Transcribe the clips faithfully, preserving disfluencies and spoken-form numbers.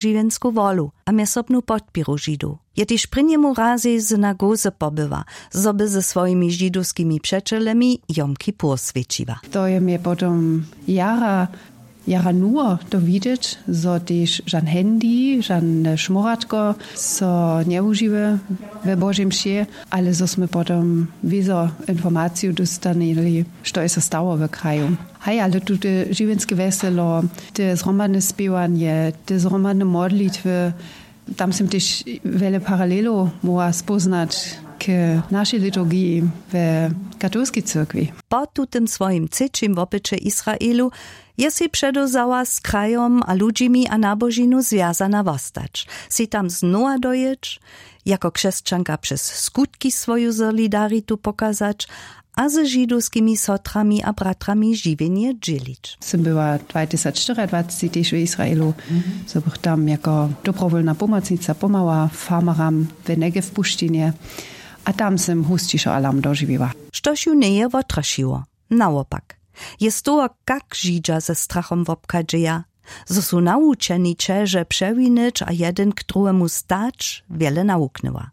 Žiwjensku wolu a mjezsobnu podpěru Židow je tež prěnjemu razej w synagoze pobyła, zo by ze swojimi židowskimi přećelemi jom kippur swjećiła. To je mje potom jara jara nuło to widźeć, zo tež žan handy žan šmóratko so njewužiwy we božej mši, ale zo smy potom wězo informaciju dóstanili, što je so stało w kraju. Haj, ale tute žiwjenske wjeselo, te zhromadne spěwanje, te zhromadne modlitwy, tam sym tež wjele paralelow móhła spóznać k našej liturgiji w katolskej cyrkwi. Po tutym swojim třećim wopyće w Israelu je sej předewzała z krajom a ludźimi a nabožinu zwjazana wostać, sej tam znowa dojěć, jako křesćanka přez skutki swoju solidaritu pokazać a ze židowskimi sotrami a bratrami žiwjenje dźělić. Sym była dwatysacštyriadwacci tež w Israelu, zo bych tam jako dobrowólna pomocnica pomała farmaram w Negev pušćinje. A tam sym husćišo alarm dožiwiła. Štož ju njeje wotrašiło, nawopak, je z toho, kak židźa ze strachom wobchadźeja, zo su nawučeni ćeže přewinyć a jedyn k druhemu stać, wjele nawuknyła.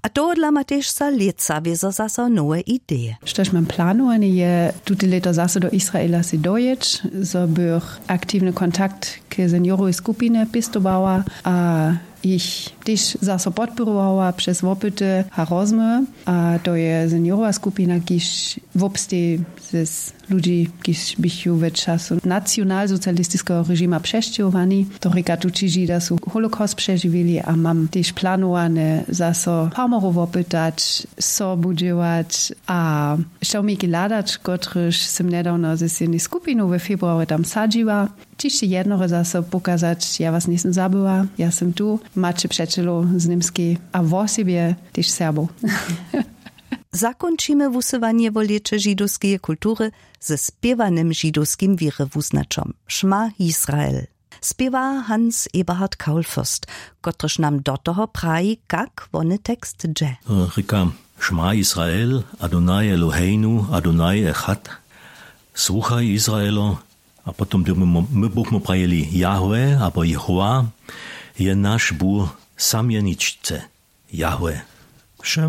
A tohodla ma tež za lětsa wězo zaso nowe ideje. Štož mam planowany, je tute lěto zaso do Israela sej dojěć, zo bych aktiwny kontakt k seniorowej skupinje pěstowała a jich tež zaso podpěrowała přez wopyty a rozmołwy. A to je seniorowa skupina, kiž wobsteji z ludźi, kiž běchu w času nacionalsocialistiskeho režima přesćěhowani. To rěka, tući židźa su holocaust přežiwili a mam tež planowane zaso farmerow wopytać, sobu dźěłać a šałmiki hladać, kotryž sym njedawno z jednej skupinu we februarje tam sadźiła. Hišće jednore zaso pokazać, ja was njejsym zabyła, ja sym tu, maće přećelow z němskej a wosebje tež Serbow. Zakónčimy wusyłanje wo lěće židowskeje kultury ze spěwanym židowskim wěrywuznaćom, Šma Israel. Spěwa Hans Eberhard Kaulfürst, kotryž nam do toho praji, kak wony tekst dźe. Rěka: Šma Israel, Adonai Eloheinu, Adonai echad. Słuchaj, Izraelo. A potom by my, my buchmy prajili: Jahwe abo Jehowa je naš Bóh, sam jeničce. Jahwe.